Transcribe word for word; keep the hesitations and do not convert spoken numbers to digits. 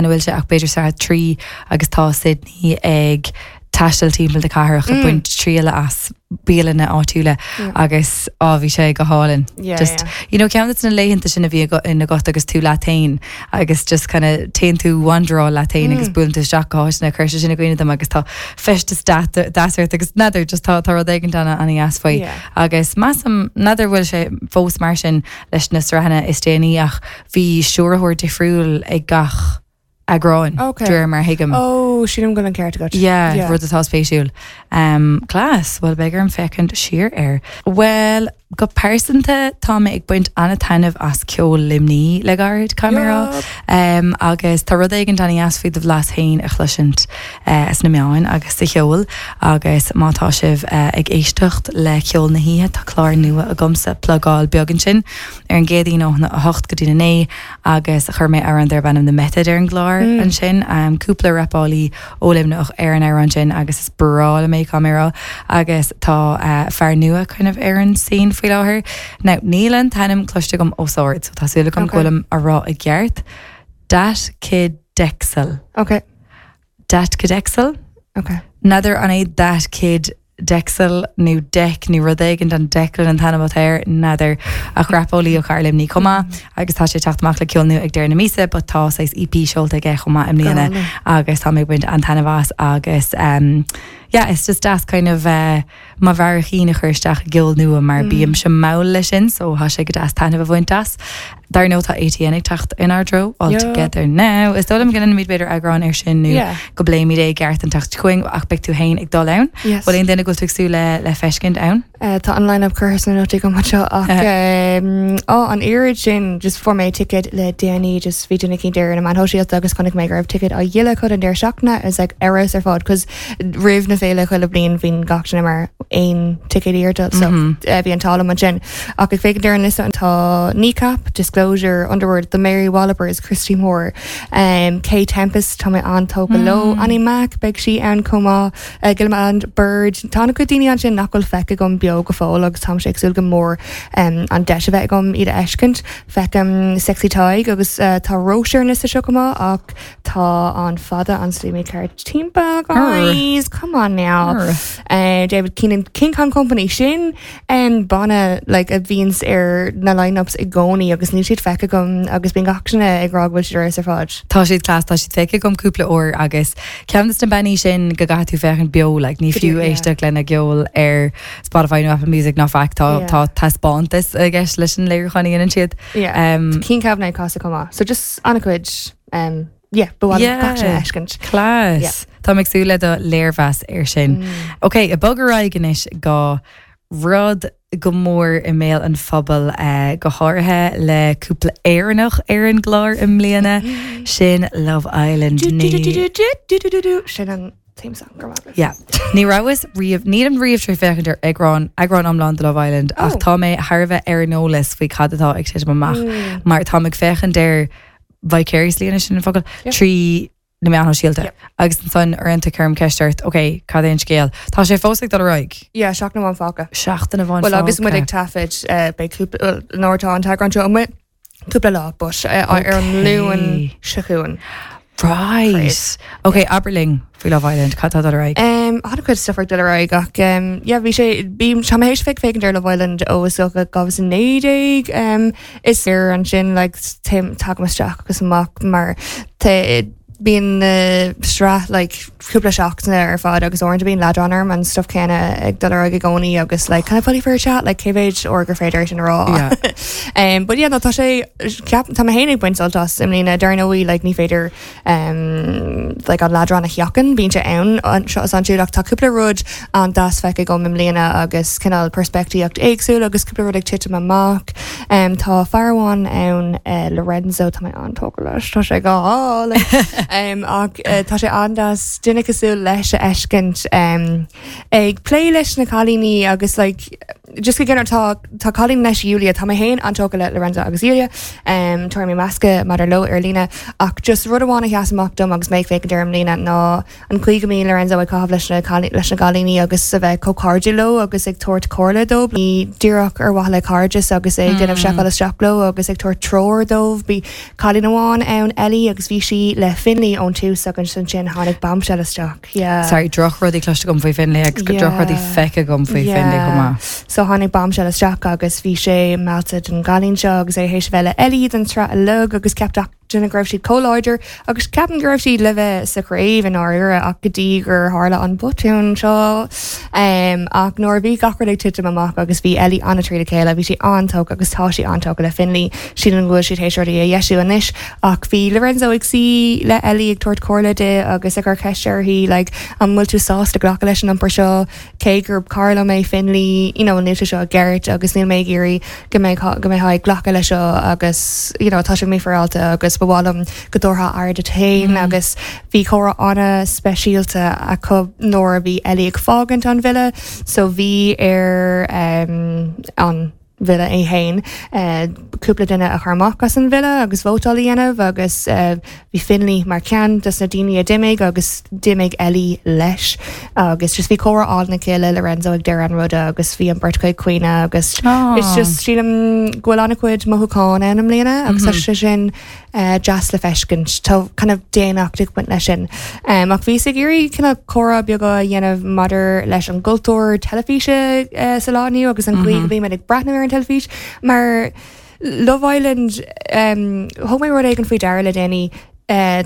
Bhfuil sé ach b'fhéidir sraith trí agus tá Sydney ag taisteal timpeall na cathrach mm. baint triail as bialanna áitiúla agus á bhí sé go hálainn. Yeah, just yeah. you know ceann na laethanta sin a bhí in agat agus tú leat féin agus just kind of téann tú wanderáil leat féin agus buaileann tú isteach go háiteanna chuir sé sin i gcuimhne dom agus tá feisteas deas agus n'fheadar just tá tá rud éigin ana an-deas faoi Yeah. agus measaim n'fheadar bhfuil sé fós mar sin leis na sraitheanna is déanaí ach bhí stiúrthóir difriúil ag gach eagrán Okay. de réir mar thuigim. Oh, sílim go an ceart agat. Yeah, Yeah. rud atá spéisiúil. Um, class, well beidh orm féachaint siar air. Well, go pearsanta tá mé ag baint an-taitneamh as ceol Luimnigh le gairid camera. Um, agus tá rud éigin an-deas faoi do bhlas féin a chloisint uh, sna meáin agus sa cheol agus má tá sibh uh, ag éisteacht le ceol na hoíche tá clár nua agamsa plugáil beag ansin ar an gCéadaoin óna a hocht go dtí a naoi agus chuir mé amhrán darb ainm The Method ar an gclár mm. ansin um, cúpla rapálaí ó Luimneach ar an amhrán sin agus is breá liom é camera agus tá uh, fear nua kind of ar an scene faoi láthair. Now níl an t-ainm cloiste agam os ard, so tá súil agam Okay. go bhfuilim á rá i gceart. Dat Kid Dexel. Okay. Dat Kid Dexel? Okay. N'fheadar an é Dat Kid Dexel nó Deck nó rud éigin an Declan an t-ainm air n'fheadar ach rapálaí ó chathair Luimnigh chomh maith agus tá sé teacht amach le ceol nua ag deireadh na míosa, but tá sé EP seolta aige chomh maith i mbliana agus tá mé baint an-taitneamh as agus um, yeah, it's just deas kind of uh, mo bharraíocht a chur isteach i gceol nua mar mm. bím se mall leis sin, so tá sé go deas taitneamh a bhaint as. Dar ndóigh tá ATN ag teacht inár dtreo all Yeah. together now. Is dóigh liom go ndéanfaimid b'fhéidir eagrán ar sin nó Yeah. go bpléimid é i gceart an tseachtain seo chugainn ach beidh tú féin ag dul ann. Yes. Bhfuil aon duine go bhfuil tú ag súil le le feiscint ann? Uh, tá an line-up curtha sna nótaí go seo ach um, á an oiread sin just fuair mé ticket le déanaí just bhí duine éicint ar na meáin shóisialta agus chonaic mé go raibh ticket á dhíol acu an deireadh seachtaine is like eras ar fad cos roimh na féile chuile bliain bhíonn gach duine mar aon ticket iarrta so mm -hmm. uh, bhí an t-ádh liom ansin ach ag féachaint ar an liosta tá Kneecap, Disclosure, Underworld, The Mary Wallopers, Christy Moore, um, Kae Tempest tá mé an-tógtha mm. leo, Annie Mac beidh sí ann chomh maith uh, Gilman Bird Tá go daoine ansin nach bhfuil feicthe agam beo go fóill agus tá sé ag súil go mór um, an deis a bheith agam iad a fheiscint feicim Sexy Tadhg agus uh, tá Róis ar an liosta seo chomh maith ach tá an fada an slí ceart timpeall guys come on now uh, David Keenan King Kong Company sin um, banna like, a bhíonns ar na line-ups i gcónaí agus níl siad feicthe agam agus bíonn gach duine ag rá go bhfuil siad ar fad. Tá siad class tá siad feicthe agam cúpla uair agus ceann de na bannaí sin go gcaithfidh tú féachaint beo like, ní fiú Yeah. éisteacht lena gceol ar Spotify nó Apple Music ná faic tá Yeah. tá taispeántas i gceist leis an léiriúchán a dhéanann siad. Yeah. Um, Cian Kavanagh casa chomh maith. So just an-chuid um, yeah, ba Yeah. yeah. Class. Yeah. Tá ag súil le do léirmheas ar sin. Mm. Ok, ag bogadh ar aghaidh anois go rud go mór i mbéal an phobail uh, go háirithe le cúpla Éireannach ar an gclár i mbliana sin Love Island. Ní- Sin an theme song go maith. Yeah. Ní rabhas riamh nílim riamh tar éis féachaint ar eagrán eagrán iomlán de Love Island ach Oh. tá mé thar a bheith ar an eolas faoi cad atá ag titim amach mar tá ag féachaint ar vicariously anois sin an focal Yep. trí na meáin shóisialta Yep. agus ansan uaireanta cuirim ceist ort ok cad é an scéal Tá sé fós ag dul ar aghaidh Yeah, seachtain amháin fágtha. seachtain amháin Well agus muid fágtha. ag taifead uh, beidh cúpla well, nuair atá an t-eagrán seo amuigh cúpla lá but uh, ar an Okay. Luan seo chugainn. Right. Ok abair linn faoi Love Island cad tá dul ar aghaidh Um, an-chuid stuff ag dul ar aghaidh ach um, yeah, bhí sé bí tá mé théis bheith ag féachaint ar Love Island ó is dócha dhá mhíle naoi déag um, is ar ansin like, tim tagaim isteach agus amach mar te bíonn uh, sraith like, cúpla seachtaine ar fad agus uaireanta bíonn leadrán orm an stuff céanna ag dul ar aghaidh i gcónaí agus like, kind of funny for a chat like, cé mhéad uair gur féidir sin a rá. Yeah. um, but yeah, no, tá sé ceap tá mé féin ag baint sult as i mbliana dar ndóigh like, ní féidir um, like, an leadrán a sheachaint bíonn sé ann anseo is ansiúd ach tá cúpla rud an-deas feicthe agam i mbliana agus cineál peirspictíocht éagsúil agus cúpla rud ag titim amach. Um, tá fear amháin ann uh, Lorenzo tá mé an-tógtha leis tá sé go hálainn. um, ach uh, tá sé an-deas duine cosúil leis a fheiscint um, ag plé leis na cailíní agus like, just go gceann tá tá cailín leis Julia tá mé féin an-tógtha le Lorenzo agus Julia um, Tá mé measctha maidir leo ar líne ach just rud amháin a sheas amach dom agus mé féachaint ar i mbliana ná an chaoi go mbíonn Lorenzo ag caitheamh leis na leis na cailíní agus a bheith chomh cairdiúil leo agus ag tabhairt comhairle dóibh. Ní díreach ar mhaithe le cairdeas agus ag déanamh seiceáil isteach leo agus ag tabhairt treoir dóibh bhí cailín amháin ann Ellie agus bhí sí le Finley ón tús agus ansin tháinig bombshell isteach. Yeah. Sorry, drochrudaí cloiste agam faoi Finley agus go Yeah. drochrudaí feicthe agam faoi Finley chomh maith. So tháinig bombshell isteach agus bhí sé meallta den gcailín seo agus é théis bheith le Ellie den tsraith uilig agus ceap duine go raibh siad chomh láidir agus ceapaim go raibh siad le bheith sa chraobh in áirithe ach go dtí gur tharla an botún seo um, ach nuair a bhí gach rud ag titim amach agus bhí Ellie an-trína chéile bhí sí an-tógtha agus tá sí an-tógtha le Finley sílim go bhfuil siad théis rudaí a dheisiú anois ach bhí Lorenzo ag suí le Ellie ag tabhairt comhairle di agus ag cur ceist uirthi like, an bhfuil tú sásta glacadh leis an iompar seo cé gur cara liom é Finley you know, níl sé seo ceart agus níl mé ag iarraidh go mbeidh go mbeidh ag glacadh leis seo agus you know, tá sé mífhéaráilte agus ba mhaith liom go dtabharfá aire duit féin mm. agus bhí comhrá an-speisialta acu nuair a bhí Ellie ag fágaint an villa so bhí ar um, an villa é féin uh, cúpla duine a chur amach as an villa agus vótáil a dhéanamh agus uh, bhí Finley mar cheann dos na daoine a d'imigh agus d'imigh Ellie leis agus just bhí comhrá álainn acu le Lorenzo ag deireadh an ruda agus bhí an bheirt ag caoineadh agus Oh. it's just sílim go bhfuil an-chuid mothúchán ann i mbliana agus mm -hmm. sé sin uh, deas le feiscint tá kind of daonnacht ag baint leis sin. Um, ach bhí ag iarraidh cineál comhrá beag a dhéanamh maidir leis an gcultúr teilifíse uh, sa lá inniu agus an chaoi mm -hmm. go mbímid ag breathnú ar an teilifís mar Love Island um, thug mé rud éigin faoi deara le déanaí uh,